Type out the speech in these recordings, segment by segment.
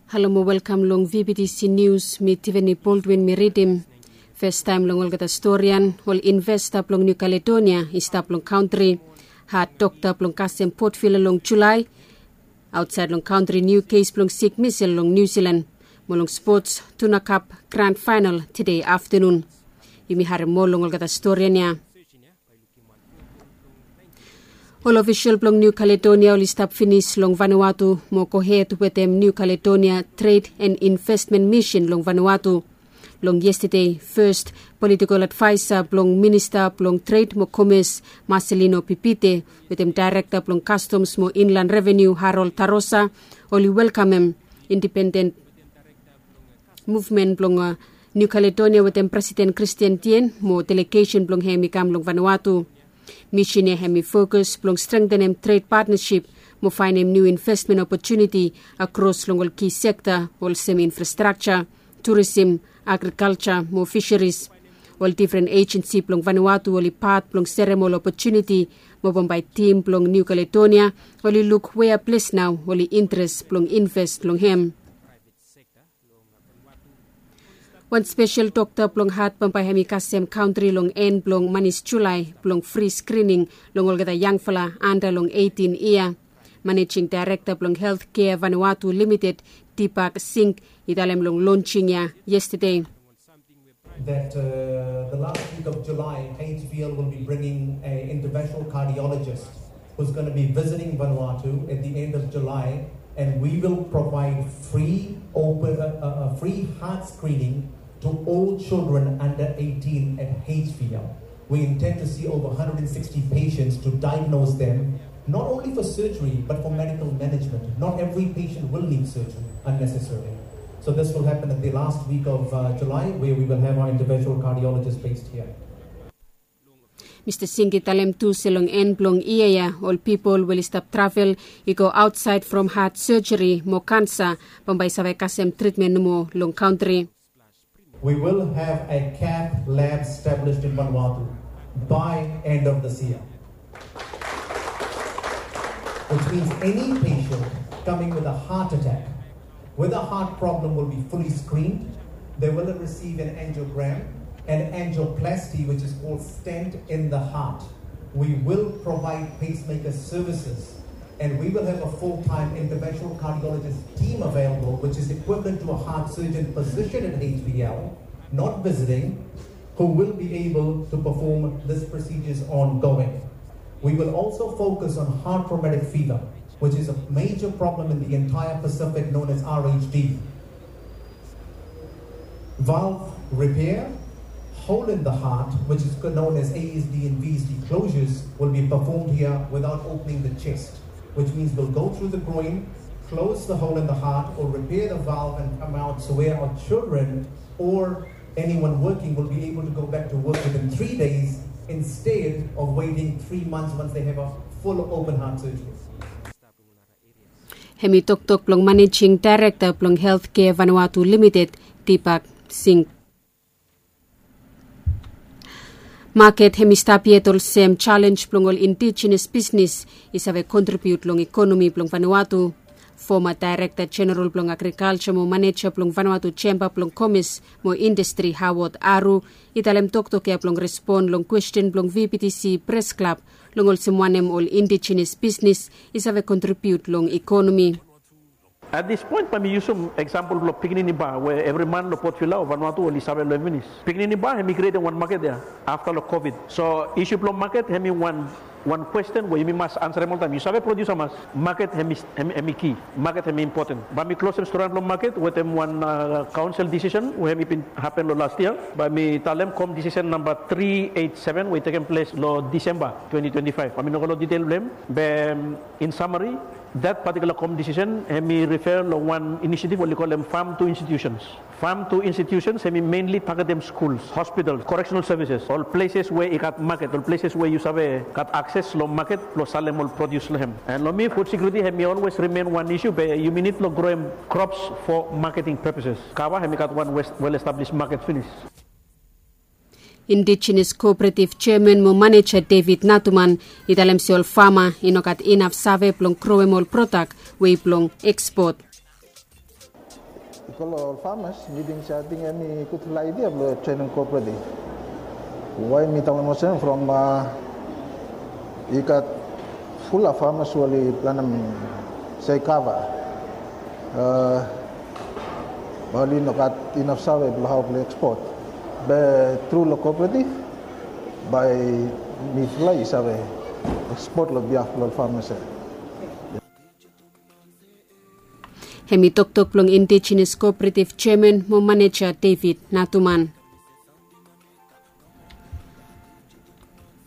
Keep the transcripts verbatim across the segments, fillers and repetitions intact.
Halo mo welkam long V B T C News, mi Tiffany Baldwin mi ridim. Festaem long olgeta storian, ol investa blong New Caledonia i stap long kantri. Had dokta blong kasem Port Vila long Julae. Aotsaed long kantri niu kes blong sik misel long Niu Silan. Mo long spots, Tuna Cup grand final tede aftenun. Yumi harem moa long olgeta storian ya. Ol ofisol blong New Caledonia oli stap finis long Vanuatu mo gohed wetem New Caledonia Trade and Investment Mission long Vanuatu. Long yestede, fes politikol advaesa blong minista blong tred mo komes, Marcelino Pipite, wetem daerekta blong kastoms mo inlan reveniu, Harold Tarosa, oli welkamem indipenden muvmen blong New Caledonia wetem Presiden Kristian Tien mo delegesen blong hem i kam long Vanuatu. Misin ya hem i fokus blong strengtenem tred patnasip mo faenem niu investmen opotuniti akros long ol ki sekta olsem infrastrakja, turisim, agrikalja mo fiseris. Ol difren ejensi blong Vanuatu oli pat blong serem ol opotuniti mo bambae tim blong New Caledonia oli luk wea ples nao oli interes blong invest long hem. Wan spesel dokta blong hat bambae hem i kasem kantri long en blong manis Julae blong fri skrining long olgeta yangfala anda long eitin yia. Manejing daerekta blong Healthcare Vanuatu Limited, Deepak Singh, i talem long lonsing ya yestede. That uh, the last week of July, H V L will be bringing an interventional cardiologist who's going to be visiting Vanuatu at the end of July, and we will provide free open, uh, uh, uh, free heart screening to all children under eighteen at H V L. We intend to see over one hundred sixty patients to diagnose them, not only for surgery, but for medical management. Not every patient will need surgery unnecessarily. So this will happen at the last week of uh, July, where we will have our interventional cardiologist based here. Mista Singh i talem tu se long en blong yia ya, ol pipol we oli stap travel i go aotsaed from hat sejeri mo kansa bambae i save kasem tritmen nomo long kantri. We will have a cath lab established in Vanuatu by end of this year, which means any patient coming with a heart attack, with a heart problem, will be fully screened. They will receive an angiogram and angioplasty, which is called stent in the heart. We will provide pacemaker services, and we will have a full-time interventional cardiologist team available, which is equivalent to a heart surgeon position at H V L, not visiting, who will be able to perform these procedures ongoing. We will also focus on heart rheumatic fever, which is a major problem in the entire Pacific, known as R H D. Valve repair, hole in the heart, which is known as A S D and V S D closures, will be performed here without opening the chest, which means we'll go through the groin, close the hole in the heart, or repair the valve and come out, so where our children or anyone working will be able to go back to work within three days instead of waiting three months once they have a full open heart surgery. Hem i toktok blong manejing daerekta blong Healthcare Vanuatu Limited, Deepak Singh. Maket hem i stap yet olsem jalenj blong ol indijenes bisnes i save kontribiut long ikonomi blong Vanuatu. Foma daerekta jeneral blong agrikalja mo maneja blong Vanuatu Jemba blong Komes mo Indastri, Howard Aru, i talem toktok ya blong respon long kwesten blong V B T C Pres Klab long olsem wanem ol indijenes bisnes i save kontribiut long ikonomi. At this point bae mi yusum eksampol blong pikinini bar we evri man long Port Vila o Vanuatu oli save long hem finis. Pikinini bar hem i krietem wan maket ya afta long Covid. So isu blong maket hem i wan wan kwesten we yumi mas ansarem oltaem. Yu save produsa mas. Maket hem i ki. Maket hem i impoten. Bae mi klosem storian blong maket wetem wan kaonsel disisen we hem i bin hapen long las yia. Bae mi talem kom disisen namba tri eit seven we i tekem ples long Disemba twenti twenti faef. Bae mi no go long ditel blong hem. Be in samari, dat patikula kom disisen hem i rife long wan inisiativ oli kolem fam tu institusens. Fam tu institusens hem i menli tagetem skuls, hospitals, koreksenal sevises, ol pleses we i gat maket, ol pleses we yu save gat akses long maket blong salem ol produs long hem. An long mi, fud sekiuriti hem i olwes rimen wan isu be yumi nid long groem krops fo maketing pepeses. Kava hem i gat wan wel establis maket finis. Indijenes Kooperativ Jeaman mo maneja David Natuman i talem se ol fama i no gat inaf save blong groem ol prodak we i blong ekspot. Long ol farmers, mi ting se ating hemi gudfala idea blong joinim cooperative. Why mi talem olsem? From i gat fulap farmers we oli planem se kava, bae oli no gat inaf save blong hao blong ekspot. Be tru long cooperative, bae mifala i save ekspot long biaf blong ol farmers ia. Hemi toktok blong Indigenous Cooperative Chairman mo Maneja David Natuman.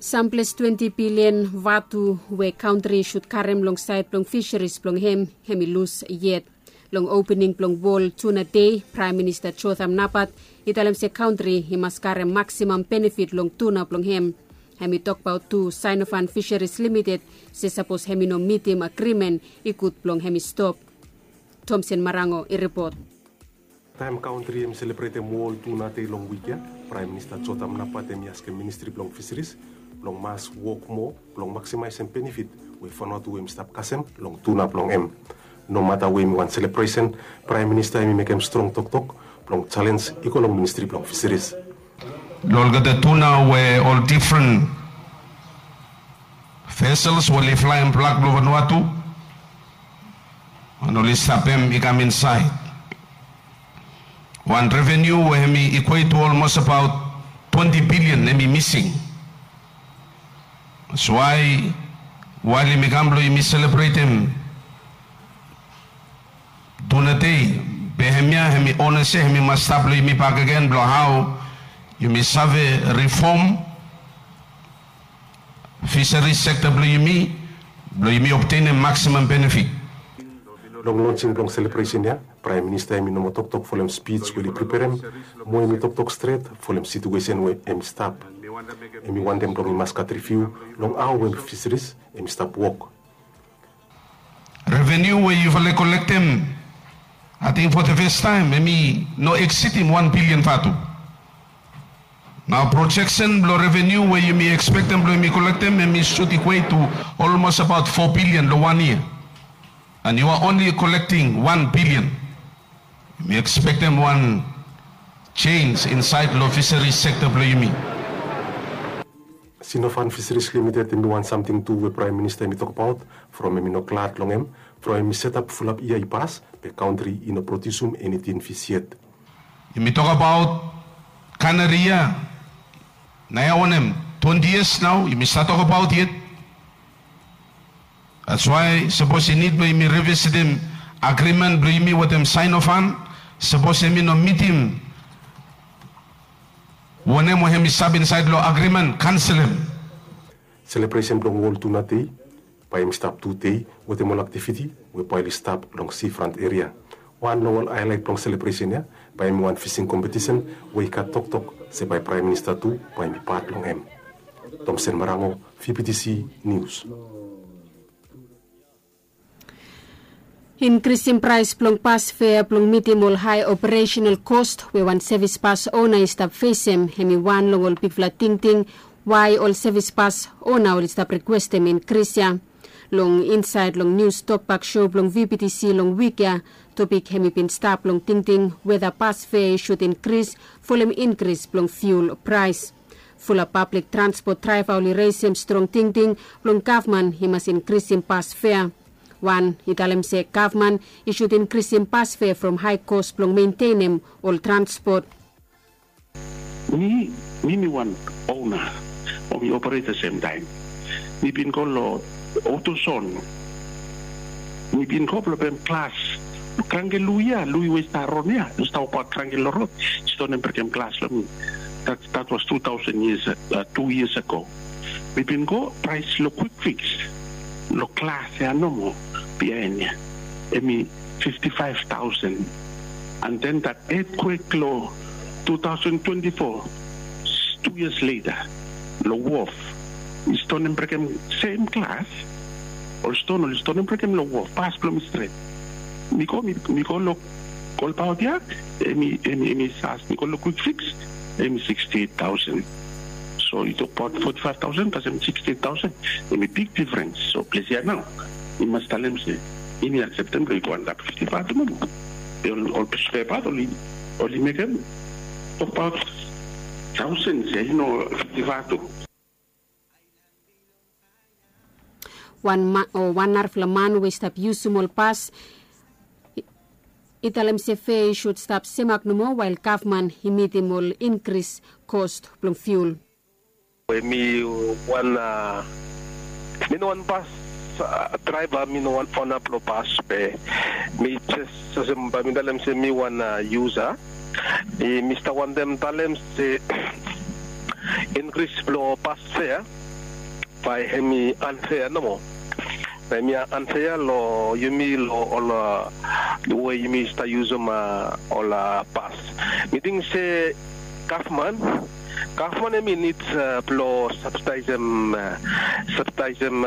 Samples twenti bilian vatu we kantri i sud karem long saed blong fiseris blong hem, hemi lus yet. Long opening blong World Tuna Day, Praem Minista Jotham Napat i talem se kantri i mas karem maksimam benefit long tuna blong hem. Hemi tokbaot tu Sinofan Fisheries Limited se sapos hemi no mitim agrimen, i gud blong hemi stop. Thomson Marango i ripot. Taem kantri hemi selebretem World Tuna Day long wik ia, Praem Minista Jotham Napat hemi askem ministri blong fiseris blong mas wok moa blong maksemaesem benefit we Vanuatu hemi stap kasem long tuna blong hem. Nomata we hemi wan selebresen, Praem Minista hemi mekem strong toktok blong jalenj i go long ministri blong fiseris. Long olgeta tuna we ol difren vesels we oli flaem flag blong Vanuatu, mo oli stap hem i kam insaed. Wan revenu we hemi ikwet tu olmos abaot twenti bilian hemi mising. That's why wael yumi kam blong yumi selebretem Tuna Day, be hemia hemi ona se hemi mas stap long yumi bakegen blong hao yumi save rifom fiseris sekta blong yumi, blong yumi obtenem maksimam benefit. Long lonsing blong selebresen ia, Praem Minista hemi no moa toktok folem spij we oli preperem, mo hemi toktok stret folem situesen we hemi stap. Hemi wantem blong i mas gat riviu long hao we fiseris hemi stap wok. Revenu we yufala i kolektem, ating fo the fes taem hemi no eksidim wan bilian vatu. Nao projeksen blong revenu we yumi ekspektem blong yumi kolektem hemi sud ikwet tu olmos abaot fo bilian long wan yia. And you are only collecting wan bilian. Yumi ekspektem wan jenis insaed long fiseris sekta blong yumi. Sinofan Fisheries Limited hemi wan samting tu we Praem Minista hemi tokbaot from hemi no glad long hem from hemi setap fulap yia i pas, be kantri i no prodiusum eni tin fis yet. Yumi tokabaot kanari ia, naoia wanem, twenti yias nao yumi save tokabaot yet. That's why sapos i nid blong yumi revisitim agrimen blong yumi wetem Sinofan, sapos hemi no mitim wanem we hemi stap insaed long agrimen, kanselem. Selebresen blong World Tuna Day bae hemi stap tu dei wetem ol aktiviti we bae oli stap long seafront eria. Wan long ol haelaet blong selebresen ia bae hemi wan fising kompetisen we i gat toktok se bae Praem Minista tu bae hemi pat long hem. Thomson Marango, V B T C News. Inkrisim praes blong pas fea blong mitim ol hae operasenal kos we wan sevis pas ona i stap fesem, hemi wan long ol bigfala tingting wae ol sevis pas ona oli stap rikwestem inkris ia. Long insaed long nius tokbak sou blong V B T C long wik ia, topik hemi bin stap long tingting weta pas fea i sud inkris folem inkris blong fiul praes. Fulap pablik transpot draeva oli resem strong tingting blong gavman i mas inkrisim pas fea. Wan i talem se gavman i sud inkrisim pas fea from hae kos blong mentenem ol transpot. Mi, mi mi wan ona o mi operator semtaem. Mi bin go long Otoson. Mi bin go blong pem glas. Kranke Lui ia, Lui we i stap ron ia, i stap wokabaot kranke long rod, i stonem brekem glas long mi. That, that was two thousand years, uh, two years ago. Mi bin go praes long Quick Fix long glas ia nomo biaen ia, hemi fifty-five thousand. And then that earthquake long two thousand twenty-four, two years later, long wharf, i stonem brekem sem glas. Ol ston oli stonem brekem long wharf, pas blong mi stret. Mi go, mi, mi go long kolbaot ia, hemi, hemi, hemi sas, mi go long Quick Fix, hemi sixty-eight thousand. So i tokbaot forty-five thousand kasem sixty-eight thousand, hemi big difference. So ples ia nao i mas talem se i no akseptem blong i go antap fifty-five nomo. Ol bus draiva oli mekem topaot taosens ya i no. Givatu. Wan narafala man we i stap yusum ol bas i talem se fea i sud stap semak nomo wael gavman i mitim ol inkris kost blong fiul. We mi wan mi no wan bas draiva, mi no wan ona blong bas be mi jes olsem bae mi talem se mi wan yusa. Mi stap wantem talem se inkris blong bas fea bae hem i anfea nomo. Bae hem i anfea long yumi long ol we yumi stap yusum ol bas. Mi ting se gavman gavman hem i nid blong sabsidaesem sabsidaesem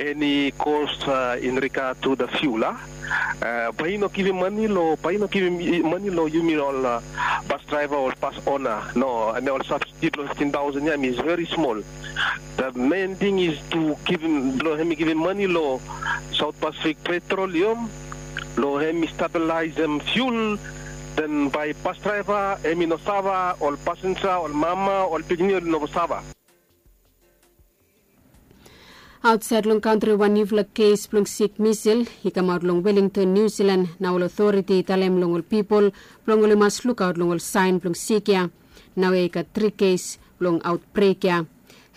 eni kos in rigat tu da fiul a. Bae i no givim mane long bae i no givim mane long yumi ol bas draiva ol bas ona no. Em ya ol sabsidi blong fiftin taosen ya em i veri smol. Da men ting is tu givim blong hem i givim mane long saut pasifik petrolium blong hem i stabilisem fiul. Den bae bas draiva hem i no sava ol pasenja ol mama ol pikinini oli no sava. Aotsaed long kantri wan niufala kes blong sik misel i kamaot long welington niu silan na ol otoriti i talem long ol pipol blong oli mas lukaot long ol saen blong sik ya. Nao ya i gat tri kes blong aotbrek ya.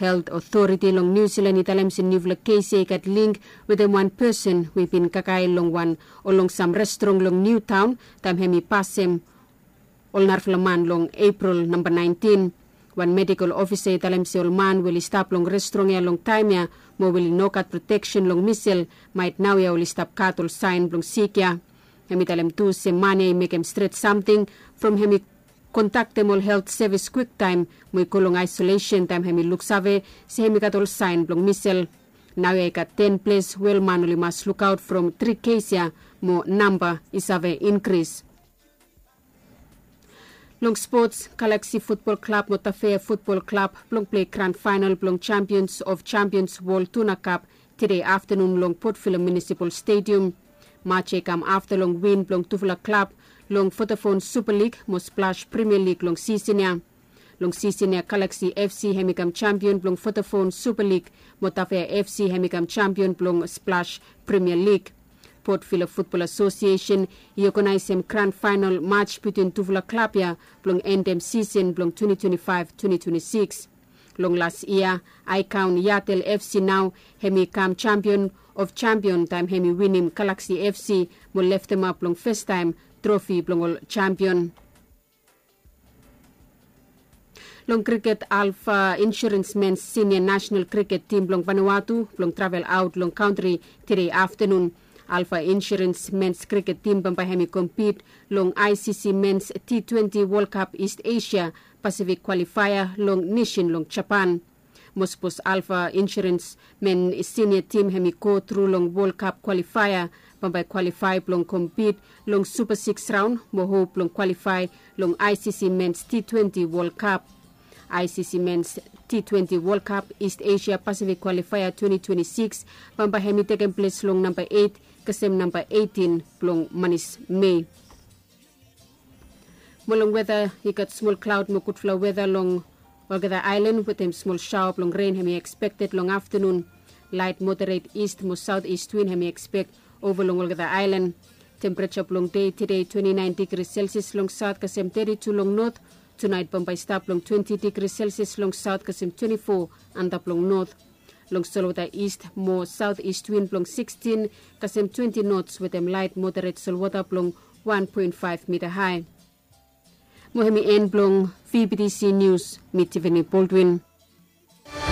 Helt otoriti long niu silan i talem se niufala kes ya i gat ling wetem wan pesen we i bin kakae long wan o long sam restrong long niu taon taem hem i pasem ol narafala man long epril namba naentin. Wan medikol ofisa i talem se ol man we oli stap long restrong ya long taem ya mo we oli no gat proteksen long misel maet nao ya oli stap gat ol saen blong sik ya. Hem i talem tu se man ya i mekem stret samting from hem i kontaktem ol helt sevis kwiktaem mo i go long aesolesen taem hem i luksave se hem i gat ol saen blong misel. Nao ya i gat ten ples we ol man oli mas lukaot from tri kes ya mo namba i save inkris. Long spots, galaksi futbol klab mo tafea futbol klab blong plei gran faenal blong jampions of jampions wol tuna kap tede aftanun long potvila munisipal stedium. Maj ya i kam afta long win blong tufala klab long fotafon supa lig mo splash primia lig long sisen ya. Long sisen ya galaksi fc hem i kam jampion blong fotafon supa lig mo tafea fc hem i kam jampion blong splash primia lig. Potvila futbol asosiesen i oganaesem gran faenal maj bitwin tufala klab ya blong endem sisen blong twenti twenti faef twenti twenti sikis. Long las yia aekaon yatel fc nao hem i kam jampion of jampion taem hem i winim galaksi fc mo leftemap long fastaem trofi blong ol jampion. Long kriket, alfa insurens mens sinia nasenal kriket tim blong vanuatu blong travel aot long kantri tede aftanun. Alfa insurens mens kriket tim bambae hem i kompit long icc mens t twenti wolkap ist asia pasifik kwalifaea long nesin long japan. Mosbos alfa insurens men sinia tim hem i go tru long wolkap kwalifaea bambae kwalifae blong kompit long supa siks raon mo hop blong kwalifae long icc mens t twenti wolkap. Icc mens t twenti wolkap ist asia pasifik kwalifaea twenti twenti sikis bambae hem i tekem ples long namba eit kasem namba eitin blong manis mei. Mo long weta, i gat smol klaod mo gudfala weta long olgeta aelan wetem smol saoa blong ren hem i ekspekted long aftanun. Laet moderet ist mo saot ist win hem i ekspek ova long olgeta aelan. Tempereja blong dei tede twenti naen digri selsias long saot kasem teti tu long not. Tunaet bambae i stap long twenti digri selsias long saot kasem twenti fo antap long not. Long solwota ist mo saot ist win blong sikstin kasem twenti nots wetem laet moderet solwota blong wan poen faef mita hae. Mo hem i en blong vbtc nius. Mi tiveni boldwin.